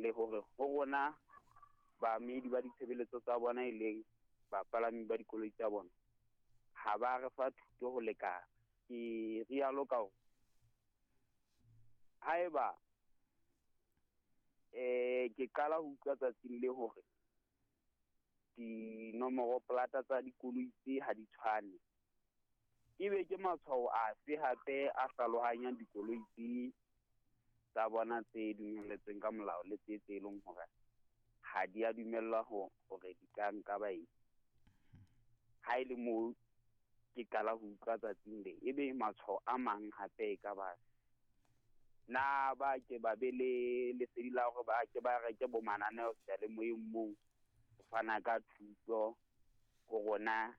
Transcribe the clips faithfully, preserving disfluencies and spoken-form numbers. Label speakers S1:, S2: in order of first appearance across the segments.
S1: Le hore ho rona baamedi ba ditshebeletso tsa bona e leng bapalami ba dikoloi tsa bona ha ba re fa thuto ho lekana. Ke rialo ka hore haeba eh ke qala ho utlwa tsatsing le hore dinomoro plata tsa dikoloi tse ha di tshwane, ebe ke matshwao afe hape a hlalohanyang dikoloi tse tsa bona tse dumelletsweng ka molao le tse tse leng hore ha di a dumellwa ho hore di ka nka baeti. Ha e le moo ke qala ho utlwa tsatsing le, ebe matshwao a mang hape e ka ba na ba ke ba be le lesedi la hore ba ke ba reke bo mananeo seyalemoyeng moo ho fana ka thuto ho rona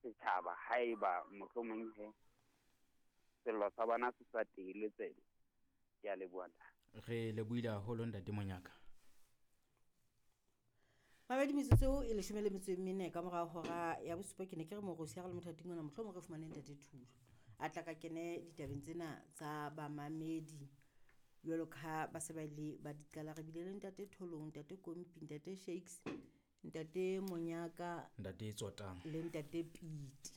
S1: setjhaba haeba mohlomong he sello sa bona se sa teile tsebe. Ke a leboha.
S2: Re lebohile haholo ntate Monyaka.
S3: Mabedi metsotso e leshome le metso e mene ka mora hora ya bosupa. Ke ne ke re morosi ha re le mothating ona mohlomong re fumane ntate Thulo a tla ka kene ditabeng tsena tsa bamamedi jwalo ka ba se ba ile ba di qala. Re bile le ntate Tholong, ntate Kompi, ntate Shakes, ntate Monyaka,
S2: ntate Tsotang
S3: le ntate Piti.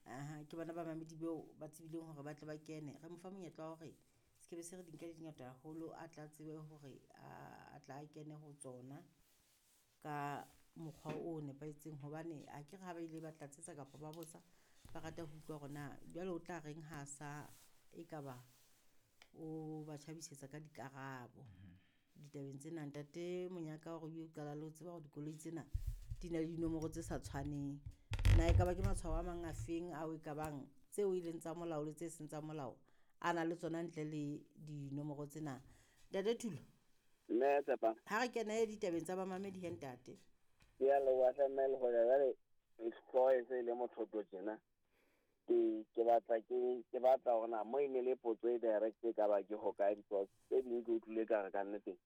S3: Aha, ke bona bamamedi beo ba tsebileng hore ba tle ba kene. Re mo fa monyetla wa hore se ke be se re di nka di ngata haholo, a tla tsebe hore a tla kene ho tsona ka mokgwa o nepahetseng, hobane a ke re ha ba ile ba tlatsetsa kapa ba botsa ba rata ho utlwa hore na jwale o tla reng ha sa ekaba o ba tjhabisetsa ka dikarabo ditabeng tsena. Ntate Monyaka hore o qala le ho tseba hore dikoloi tsena di na le dinomoro tse sa tshwaneng, na ekaba ke matshwao a mang a feng ao e ka bang tseo e leng tsa molao le tse seng tsa molao a na le tsona ntle le dinomoro tsena? Ntate Thulo,
S4: mme Tshepa,
S3: ha re kene ditabeng tsa bamamedi he ntate.
S4: Ke a leboha hle mme le hoja jwale hlooho e se le mothoto tjena. Ke ke batla ke ke batla hore na mo e ne le potso e direct e ka ba ke hokae, because tse ding ke utlwile ka re ka nnete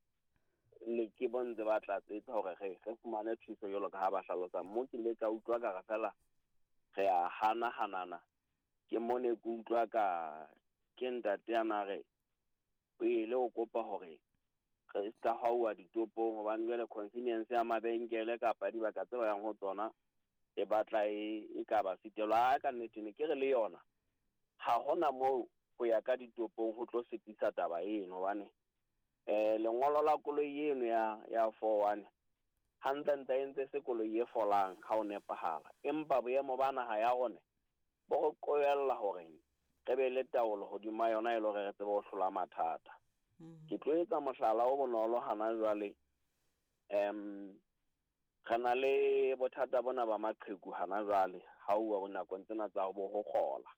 S4: le ke bontse ba tlatsetsa hore re re fumane thuso jwalo ka ha ba hlalosa. Mo ke ile ka utlwa ka re fela re a hana hanana, ke mo ne ke utlwa ka ke ntate a na re o ile o kopa hore re ska hauwa ditopong hobane jwale convenience ya mabenkele kapa dibaka tse ba yang ho tsona e batla e e ka ba sitelwa. Ka nnete ne ke re le yona ha hona moo ho ya ka ditopong ho tlo sitisa taba eno, hobane eh lengolo la koloi eno ya ya four one hantlentle e ntse se koloi e folang ha o nepahala, empa boemo ba naha ya rona bo re qobella hore re be le taolo hodima yona e le hore re tsebe ho hlola mathata. Ke tlo etsa mohlala o bonolo hana jwale. Em re na le bothata bona ba maqheku hana jwale ha uwa ho nakong tsena tsa bo ho kgola.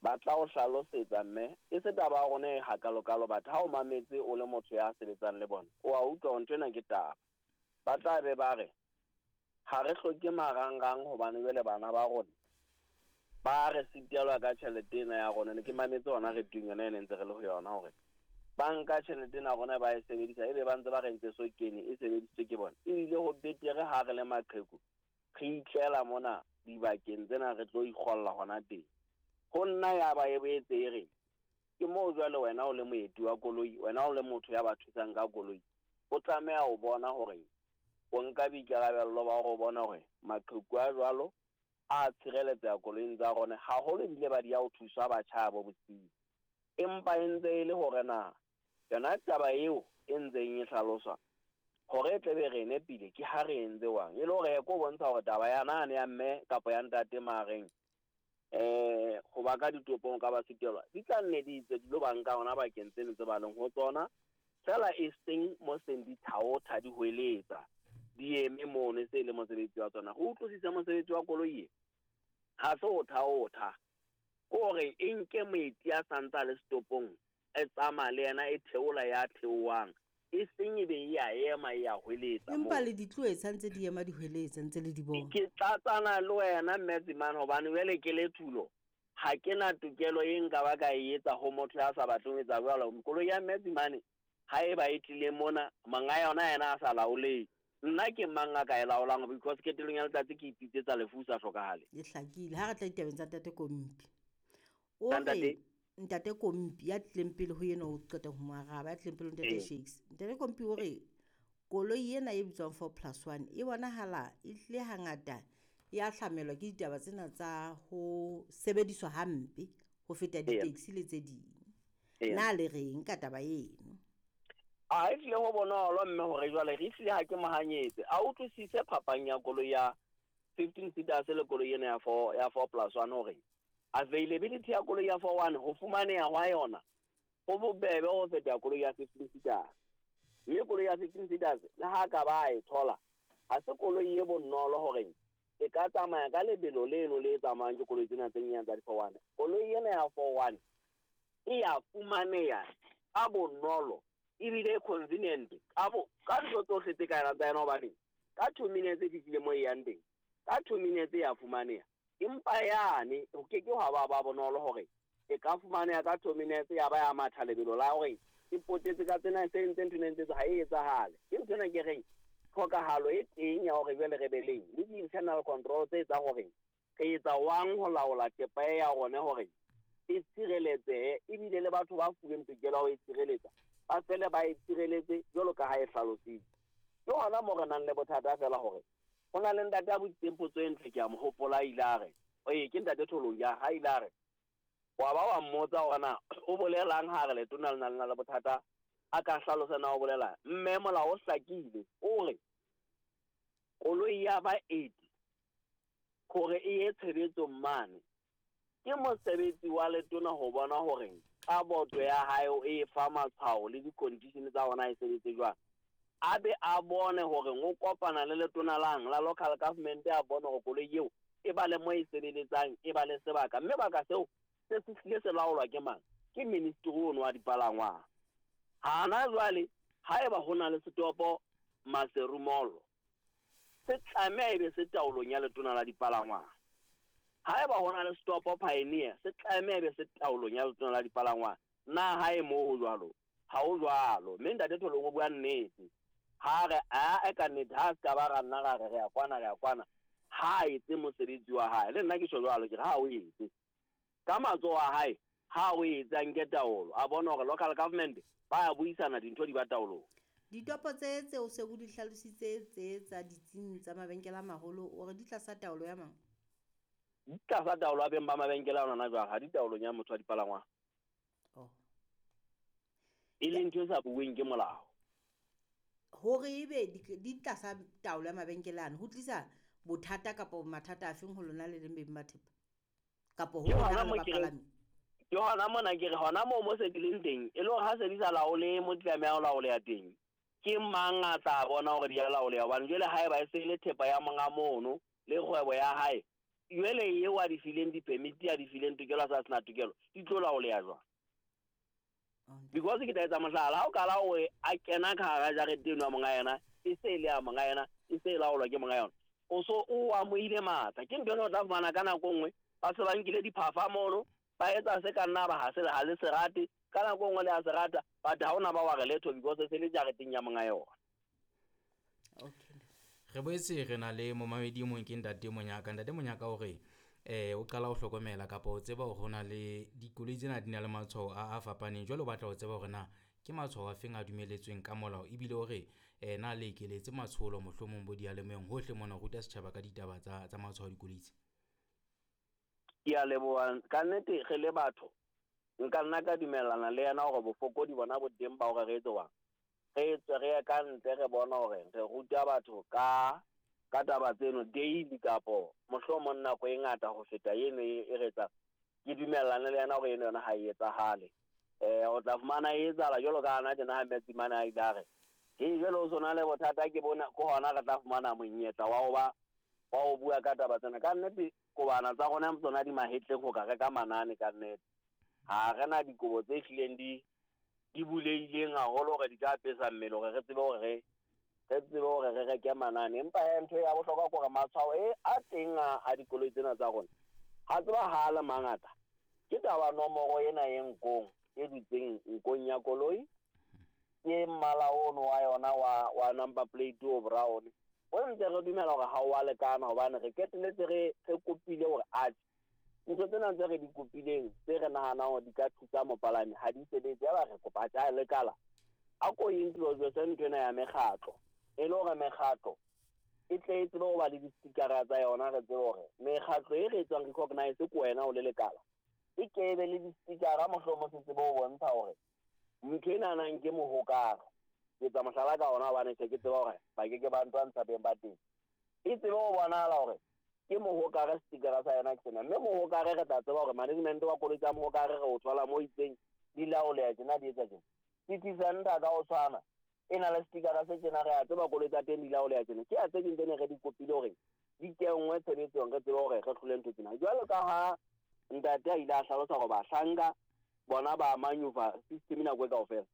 S4: Ba tla o hlalosetsa mme e se taba ya rona e hakalokalo, batho ha o mametse o le motho ya sebetsang le bona o a utlwa hore ntho ena ke taba. Ba tla be ba re ha re hloke marangrang hobane jwale bana ba rona ba re sitelwa ka tjhelete ena ya rona. Ne ke mametse hona re tung yona e ne ntse re le ho yona hore ba nka tjhelete ena rona ba e sebedisa ebe ba ntse ba re ntse so kene e sebedisitswe ke bona. Ebile ho betere ha re le maqheku re itlela mona dibakeng tsena re tlo ikgolla hona teng. Ho nna ya ba e boetse e re ke moo jwale wena o le moeti wa koloi, wena o le motho ya ba thusang ka koloi, o tlameha ho bona hore o nka boikarabello ba hore o bona hore maqheku a jwalo a tshireletseha koloing tsa rona, haholo ebile ba di ya ho thusa batjha bo bosiu. Empa e ntse e le hore na yona taba eo e ntseng e hlaloswa hore e tlebe re nepile ke ha re entse wang, e le hore ko bontsha hore taba ya nane ya mme kapa ya ntate mareng eh ho ba ka ditopong ka ba sitelwa di tla nne di itse di lo ba nka hona bakeng tseno tse ba leng ho tsona fela e seng mo seng di thaotha di hweletsa di eme mono se le mosebetsi wa tsona. Ho utlwisisa mosebetsi wa koloi e ha se ho thaotha, kore e nke moeti a santsa le setopong e tsamaya le yena e theola ya theohang e seng e be e a ema e a hweletsa.
S3: Empa le ditloetsa ntse di ema di hweletsa ntse le di bona.
S4: Ke tlatsana le wena mme Tsimane hobane jwale ke le Thulo ha ke na tokelo e nka ba ka e etsa ho motho ya sa batleng ho etsa jwalo. Koloi ya mme Tsimane ha eba e tlile mona monga yona yena a sa laoleng, nna ke mang a ka e laolang? Because ketelong ya letsatsi ke ipitsetsa lefu sa hlokahale.
S3: E hlakile. Ha re tla ditabeng tsa ntate Kompi, o re Ntate Kompi ya tlileng pele ho yena o qeta ho mo araba, ya tlileng pele ho Ntate Shakes. Ntate Kompi o re koloi ena e bitswang four plus one e bonahala e hlile hangata ya hlamelwa ke ditaba tsena tsa ho sebediswa hampe ho feta di-taxi le tse ding. Na le reng ka taba eno?
S4: A e hlile ho bonolo mme hore jwale re hlile ha ke mohanyetse. A utlwisise phapang ya koloi ya fifteen seaters le koloi ena ya four ya four plus one hore availability ya koloi ya four one ho fumaneha hwa yona ho bobebe ho feta koloi ya fifteen seaters. Mme koloi ya fifteen seaters le ha ka ba e thola ha se koloi e bonolo hore e ka tsamaya ka lebelo leno le tsamayang ke koloi tsena tse nyenyane tsa di four one. Koloi ena ya four one e ya fumaneha ka bonolo ebile convenient ka bo ka ntho tsohle tse ka tsa yona hobane ka two minutes e fihlile mo e yang teng, ka two minutes ya fumaneha. Empa yane ho ke ke hwa ba ba bonolo hore e ka fumaneha ka two minutes ya ba ya matha lebelo la hore e potetse ka tsena se ntse ntho ntse ha e etsahale. Ke ntho ena ke reng tlhokahalo e teng ya hore jwale re be leng le di-internal control tse etsang hore re etsa wang ho laola thepa ya rona hore e tshireletsehe ebile le batho ba fuweng tokelo ya ho e tshireletsa ba fele ba e tshireletse jwalo ka ha e hlalositse. Ke hona moo re nang le bothata fela hore ho na le ntate a botsitseng potso e ntle, ke a mo hopola a ile a re ee ke ntate Tholong ya ha ile a re wa ba wa mmotsa hore na o bolelang ha re letona le na le na le bothata a ka hlalosa na o bolelang. Mme molao o hlakile o re koloi ya ba eight hore e ye tshebetsong mane ke mosebetsi wa letona ho bona hore ka boto ya hae e fa matshwao le di-condition tsa hona e sebetse jwang. A be a bone hore o kopana le letona lang la local government a bone hore koloi eo e ba le mo e sebeletsang e ba le sebaka, mme baka seo se se hlile se laolwa ke mang? Ke ministry ono wa dipalangwang. Hana jwale haeba ho na le setopo Maseru Mall se tlameha ebe se taolong ya letona la dipalangwang. Haeba ho na le setopo Pioneer se tlameha ebe se taolong ya letona la dipalangwang. Na hae moo ho jwalo? Ha ho jwalo. Mme ntate Tholong o bua nnete. Ha re a e ka nnete ha se ka ba ra nna ra re re ya kwana re ya kwana ha etse mosebetsi wa hae. Le nna ke tjho jwalo ke re ha o etse ka matsoho a hae, ha o etse a nke taolo a bona hore local government ba ya buisana dintho di ba taolong.
S3: Ditopo tse tse o se o di hlalositse tse tsa ditsing tsa mabenkele a maholo o re di tlasa taolo ya mang?
S4: Di tlasa taolo ya beng ba mabenkele a ona jwang, ha di taolong ya motho wa dipalangwang.
S3: Oh.
S4: E leng ntho e sa bueng ke molao.
S3: Hore ebe di tlasa taolo ya mabenkele ano ho tlisa bothata kapa mathata a feng ho lona le leng beng ba thepa? Kapo ho lona le bapalami?
S4: Ke hona mona ke re hona moo mo se di leng teng e le hore ha se di sa laole mo tlameha ho laoleha teng ke mang a tla bona hore di a laoleha? Hobane jwale haeba e se le thepa ya monga mono le kgwebo ya hae jwale eo a di fileng di-permit a di fileng tokelo a sa sena tokelo di tlo laoleha jwang? Because ke tla etsa mohlala ha o kala hore a kena ka hara jarete eno ya monga yena e se e le ya monga yena e se e laolwa ke monga yona o so o amohile matla. Ke ntho ena o tla fumana ka nako nngwe ba se ba nkile diphafa mono ba etsa se ka nna ba ha se ha le se rate ka nako nngwe le a se rata but ha ona ba wa re letho because se le jareteng ya monga yona.
S3: Okay.
S2: Re boetse re na le momamedi mong ke ntate Monyaka. Ntate Monyaka o re eh o qala ho hlokomela kapa o tseba hore hona le dikoloi tsena di na le matshwao a a fapaneng, jwale o batla ho tseba hore na ke matshwao a feng a dumeletsweng ka molao ebile hore eh na le ekeletse matsholo mohlomong bo dialemoyeng hohle mona ho ruta setjhaba ka ditaba tsa tsa matshwao a dikoloi tse.
S4: Ke a leboha ka nnete re le batho nka nna ka dumellana le yena hore bofokodi bona bo teng ba hore re etse jwang. Re tswe re ye ka ntle re bona hore re ruta batho ka ka taba tseno daily kapo mohlomong nako e ngata ho feta eno e re etsang. Ke dumellane le yena hore eno yona ha e etsahale. Eh o tla fumana e etsahala jwalo ka hana tjena ha Metsimane a ile a re ke jwale o sona le bothata ke bona ke hona re tla fumana monyetla wa ho ba wa ho bua ka taba tsena. Ka nnete kobana tsa rona tsona di mahetleng ho ka reka manane ka nnete. Ha re na dikobo tse hlileng di di bulehileng haholo hore di ka apesa mmele hore re tsebe hore re re tsebe hore re reke manane. Empa he ntho ya bohlokwa ke hore matshwao e a teng a a dikoloi tsena tsa rona ha tsebahale mangata. Ke taba nomoro ena e nkong e dutseng nkong ya koloi ke mmala ono wa yona wa wa number plate o brown. O ntse re dumela hore ha o a lekana hobane re keteletse re re kopile hore atjhe Ntho tsena tse re di kopileng tse re nahanang hore di ka thusa mopalami ha di sebetse, ya ba re kopa tja lekala a ko introduce ntho ena ya mekgatlo, e le hore mekgatlo e tle e tsebe ho ba le di-stickera tsa yona, re tsebe hore mekgatlo e re etswang recognize ke wena o le lekala e ke be le di-stickera, mohlomong se tsebe ho bontsha hore ntho e nanang ke mohokare. Ke etsa mohlala ka ona hobane se ke tseba hore ba ke ke ba ntwantsha beng ba teng, e tsebe ho bonahala hore ke mohokare, stickera sa yona ke sena, mme mohokare re tla tseba hore management wa koloi tsa mohokare re o thola mo itseng di laoleha tjena, di etsa tjena. City Center ka ho tshwana e na le stickera se tjena, re a tseba koloi tsa teng di laoleha tjena. Ke a tse ding tse ne re di kopile hore di kenngwe tshebetsong, re tsebe hore re hlole ntho tsena. Jwalo ka ha ntate a ile a hlalosa hore bahlanka bona ba maneuver system nako e kaofela,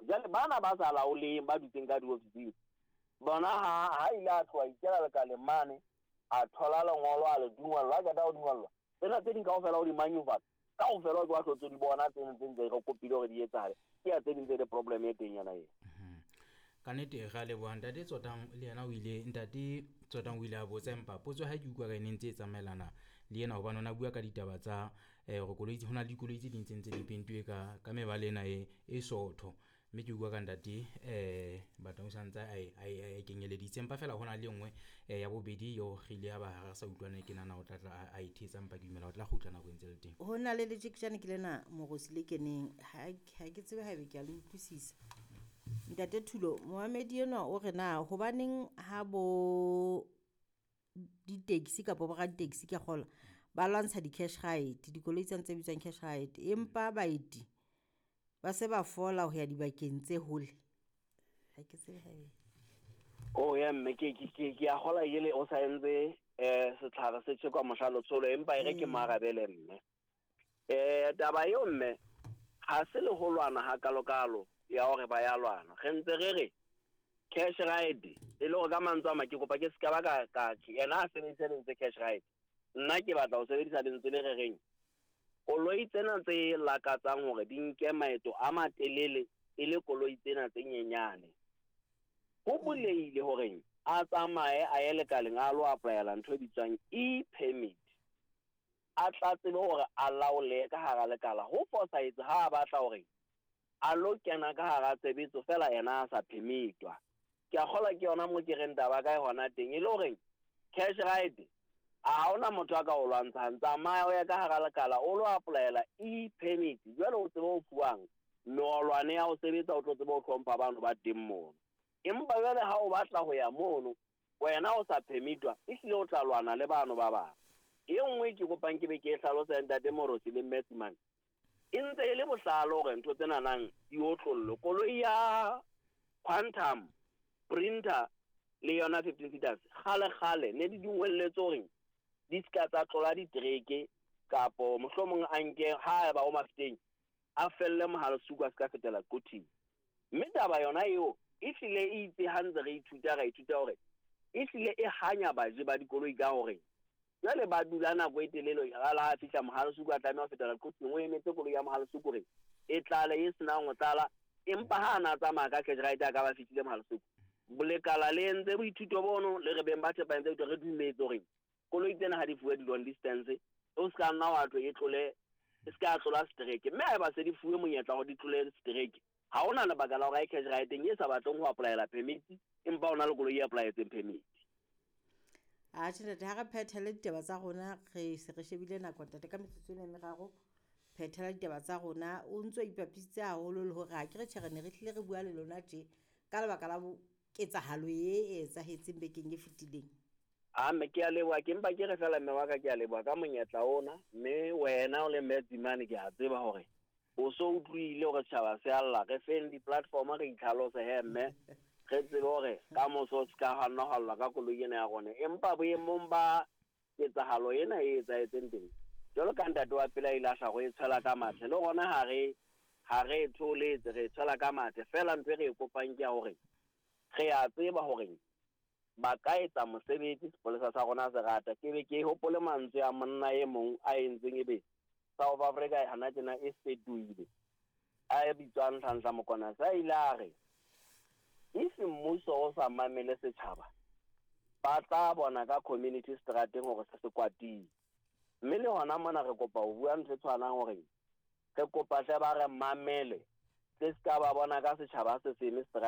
S4: jwale bana ba sa laoleng ba dutseng ka diofising bona ha ha ile a tloha ikela lekaleng mane a thola lengolo a le dungwellwa, a qeta ho dungwellwa tsena tse ding kaofela o di maneuver kaofela o wa hlotse di bona tsena tse ntse re kopile hore di etsahale. Ke ya tse ding tse le problem e teng yona eo.
S2: Ka nnete re a leboha ntate Tsotang, le yena o ile ntate Tsotang o ile a botsa, empa potso ha ke utlwa ka e ne ntse e tsamaelana le yena hobane o na bua ka ditaba tsa eh hore koloi ho na le dikoloi tse ding tse ntse di pentuwe ka ka mebala ena e e sootho, mme ke utlwa ka ntate eh Batang o santse a e a e kenyeleditse, empa feela hona le e nngwe ya bobedi eo re ile ya ba re sa utlwane, ke nahana o tla tla a e thetsa, empa ke dumela o tla kgutla nako e ntse le teng.
S3: Ho na le letjeketjane ke lena Morosi le keneng, ha ke tsebe haebe ke a le utlwisisa. Ntate Thulo, momamedi enwa o re na hobaneng ha bo di-taxi kapa bo raditekesi ke a kgolwa ba lwantsha di-cash ride, dikoloi tsena tse bitswang cash ride, empa baeti ba se ba fola ho ya dibakeng tse hole. Ha ke tsebe haebe
S4: Oh ya mme ke ke ke ke a kgola ele o sa entse eh setlhare se tjhekwa mohla letsholo, empa e re ke moarabele mme. Eh taba eo mme ha se le ho lwana hakalokalo ya hore ba ya lwana, re ntse re re cash ride e le hore ka mantswe a mang ke kopa ke ska ba ka ka yena a sebedisa lentswe cash ride, nna ke batla ho sebedisa lentswe le re reng koloi tsena tse lakatsang hore di nke maeto a matelele e le koloi tsena tse nyenyane, ho bulehile hore a tsamaye a ye lekaleng a lo applyela ntho e bitswang e-permit, a tla tsebe hore a laole ka hara lekala. Ho fosahetse ha a batla hore a lo kena ka hara tshebetso fela yena a sa permitwa. Ke a kgolwa ke yona mo ke reng taba ka hona teng, e le hore cash ride a ha hona motho a ka o lwantshang, tsamaya o ye ka hara lekala o lo applyela e-permit, jwale o tsebe ho fuwang meolwane ya ho sebetsa, o tlo tsebe ho hlompha bano ba teng mono. Empa jwale ha o batla ho ya mono wena o sa permitwa, ehlile o tla lwana le bano ba bang. E nngwe ke kopang ke be ke e hlalosa ntate Morosi le mme Tsimane, e ntse e le bohlale hore ntho tsena nang di otlollwe. Koloi ya Quantum Printer le yona fifteen seaters kgale kgale ne di dungwelletswe hore di ska tsa tlola ditereke, kapo mohlomong a nke ha eba o Mafeteng a felle Mohalesuku a ska fetela Quthing. Mme taba yona eo e hlile e itse ha ntse re ithuta ra ithuta hore e hlile e hanya baje ba dikoloi ka hore jwale ba dula nako e telele, ha la fihla Mohalesuku a tlameha ho fetela Quthing, o emetse koloi ya Mohalesuku hore e tlale e senang ho tlala, empa ha a na tsamaya ka cash ride a ka ba fihlile Mohalesuku. Bolekala le entse boithuto bono le re beng ba thepa entse re dumetse hore koloi tsena ha di fuwe di-long distance, o ska nna wa tlo e tlole, e ska tlola setereke, mme haeba se di fuwe monyetla hore di tlole setereke, ha hona lebaka la hore cash ride e sa batleng ho applyela permit, empa ona le koloi e applyetseng permit.
S3: A tjhe ntate, ha re phethele ditaba tsa rona, re se re shebile nako ntate ka metsotso ena e meraro, phethela ditaba tsa rona. O ntso ipapisitse haholo le hore ha ke re tjhe re ne re hlile re bua le lona tje ka lebaka la ketsahalo e etsahetseng bekeng e fetileng.
S4: A mme ke a leboha, ke mpa ke re fela mme wa ka ke a leboha ka monyetla ona, mme wena o le mme Tsimane ke a tseba hore o so utlwile hore setjhaba se a lla, re feng di-platform re itlhalose he mme re tsebe hore ka moso se ka ha nna hwa llwa ka koloi ena ya rona. Empa boemong ba ketsahalo ena e etsahetseng teng, jwalo ka ntate wa pele a ile a hla ho e tshwela ka mathe, le rona ha re ha re e tholetse, re e tshwela ka mathe. Feela ntho e re e kopang ke ya hore re a tseba hore ba ka etsa mosebetsi sepolesa sa rona se rata. Ke be ke hopole mantswe a monna e mong a entseng ebe South Africa hana tjena e fetohile, a bitswang Nhlanhla Mokwana, sa ile a re if mmuso o sa mamele setjhaba, ba tla bona ka community strateng hore se se kwatile. Mme le hona mona re kopa ho bua ntho e tshwanang hore re kopa hle ba re mamele se ska ba bona ka setjhaba se seme seterateng.